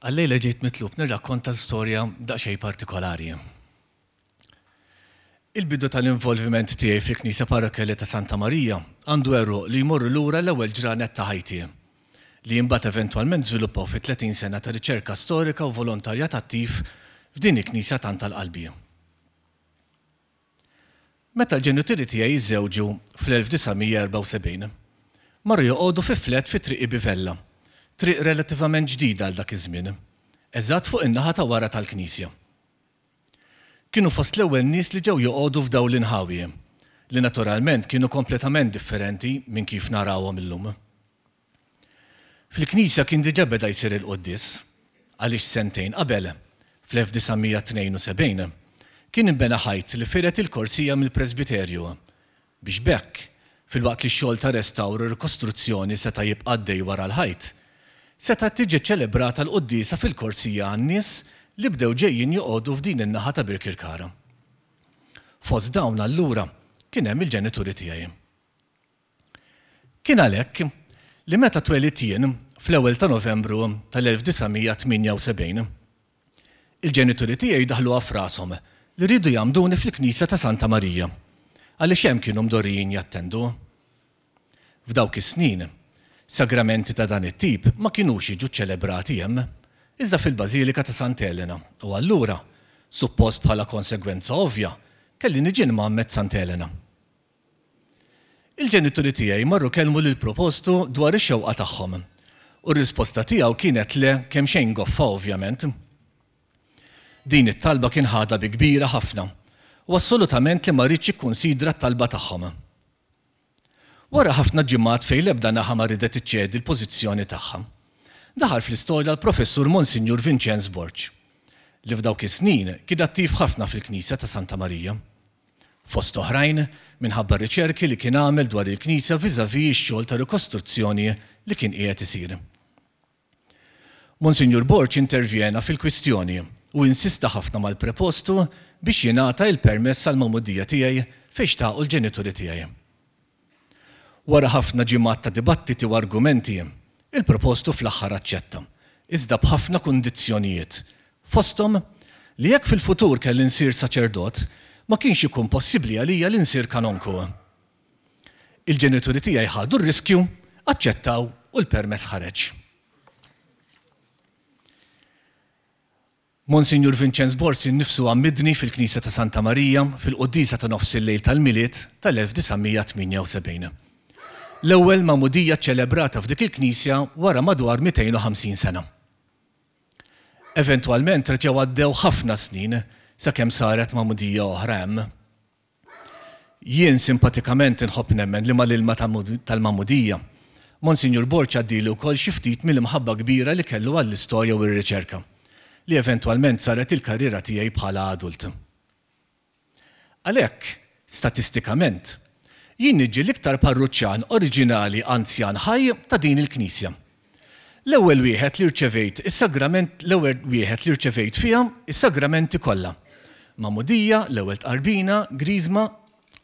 Għallejla ġejt mitlub nirrakkonta storja daqsxejn partikolari. Il-bidu tal-involviment tiegħi fil-Knisja Parrokkjali ta' Santa Marija għandu għeruq li jmorru lura l-ewwel ġranet ta' ħajti, li imbagħad eventwalment żviluppaw fi 30 sena ta' riċerka storika u volontarjat attiv f'din il-knisja tant għal qalbi. Meta l-ġenituri tiegħi żżewġu fl-1974, marru joqogħdu fi flat fi Triq Ibi Vella, triq relattivament ġdida għal dak iż-żmien, eżatt fuq in-naħa ta' wara tal-knisja. Kienu fost l-ewwel nies li ġew joqogħdu f'dawn l-inħawi, li naturalment kienu kompletament differenti minn kif narawhom illum. Fil-knisja kien diġà beda jsir il-quddies, għaliex sentejn qabel, fl-1972, kien inbena ħajt li fired il-korsija mill-presbiterju, biex b'hekk, filwaqt li x-xogħol ta' restawr u rikostruzzjoni seta' jibqa' għaddej wara l-ħajt, setgħet tiġi ċċelebrata l-quddiesa fil-korsija għan-nies li bdew ġejjin joqogħdu f'din in-naħa ta' Birkirkara. Fost dawn allura kien hemm il-ġenituri tiegħi. Kien għalhekk li meta twelidt jien fl-ewwel ta' Novembru tal-1978, il-ġenituri tiegħi daħluha f'rashom li riedu jgħammduni fil-knisja ta' Santa Marija, għaliex hemm kienu mdorrijin jattendu. F'dawk is-snin, sagramenti ta' dan it-tip ma kinux jiġu ċċelebrati hemm, iżda fil-Bażilika ta' Sant'Elena u allura, suppost bħala konsegwenza ovvja, kelli niġi nmgħammed Sant'Elena. Il-ġenituri tiegħi marru kellmu lill-propostu dwar ix-xewqa tagħhom, u r-risposta tiegħu kienet le kemxejn goffa ovvjament. Din it-talba kien ħadha bi kbira ħafna, u assolutament li ma riedx jikkunsidra t-talba tagħhom. Wara ħafna ġimgħat fejn l-ebda naħa ma riedet iċċedi l-pożizzjoni tagħha, daħal fl-istorja l-Professur Monsinjur Vinċenz Borg, li f'dawk is-snin kien attiv ħafna fil-Knisja ta' Santa Marija. fost oħrajn minħabba r-riċerki li kien għamel dwar il-Knisja vis-à-vis ix-xogħol ta' rikostruzzjoni li kien qiegħed isir. Monsinjur Borg intervjena fil-kwistjoni u insista ħafna mal-prepostu biex jingħata il-permess għall-magħmudija tiegħi fejn xtaqu l-ġenituri tiegħi. Wara ħafna ġimgħat ta' dibattiti u argumenti, il-propostu fl-aħħar aċċetta, iżda b'ħafna kundizzjonijiet, fosthom li jekk fil-futur kelli nsir saċerdot, ma kienx ikun possibbli għalija li nsir kanonku. Il-ġenituri tiegħi ħadu r-riskju, aċċettaw u l-permess ħareġ. Monsinjur Vinċenz Borg innifsu għammidni fil-Knisja ta' Santa Marija fil-quddiesa ta' nofsillejl tal-Milied tal-1978. L-ewwel magħmudija ċċelebrata f'dik il-knisja wara madwar 250 sena. Eventwalment reġgħu għaddew ħafna snin sakemm saret magħmudija oħra hemm. Jien simpatikament inħobb nemmen li mal-ilma tal-magħmudija, Monsinjur Borg għaddieli wkoll xi ftit mill-imħabba kbira li kellu għall-istorja u r-riċerka, li eventwalment saret il-karriera tiegħi bħala adult. Għalhekk, statistikament, jien niġi l-iktar parruċċan oriġinali anzjan ħaj ta' din il-knisja. L-ewwel wieħed li rċevejt is-sagrament l-ewwel wieħed li rċevejt fiha s-sagramenti kollha. Magħmudija, l-ewwel tqarbina, griżma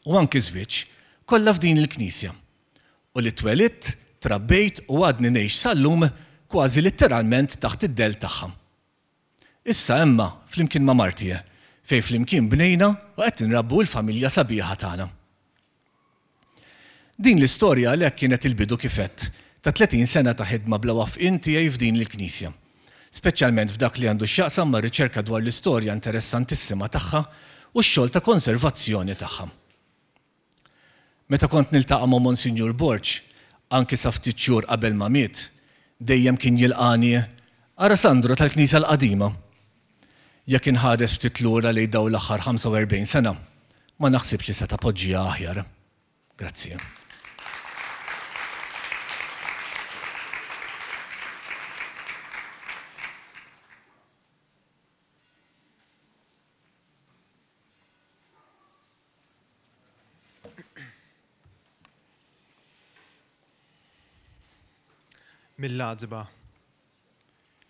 u anki żwieġ, kollha f'din il-knisja. U li twelidt, trabbejt u għadni ngħix sal-lum kważi litteralment taħt id-dell tagħha. Issa imma flimkien ma' marti, fejn flimkien bnejna u qed inrabbu l-familja sabiħa tagħna. Din l-istorja għalhekk kienet il-bidu kif għedt, ta' 30 sena ta' ħidma bla wafqien tiegħi f'din il-knisja, speċjalment f'dak li għandu x'jaqsam mar-riċerka dwar l-istorja interessantissima tagħha u x-xogħol ta' konservazzjoni tagħha. Meta kont niltaqa' ma' Monsinjur Borg, anki sa ftit xhur qabel ma miet, dejjem kien jilqagħni, Ara Sandro tal-knisja l-qadima! Jekk inħares ftit lura lejn dawn l-aħħar 45 sena, ma naħsibx li seta' poġġiha aħjar. Grazzi. Mill-għatba.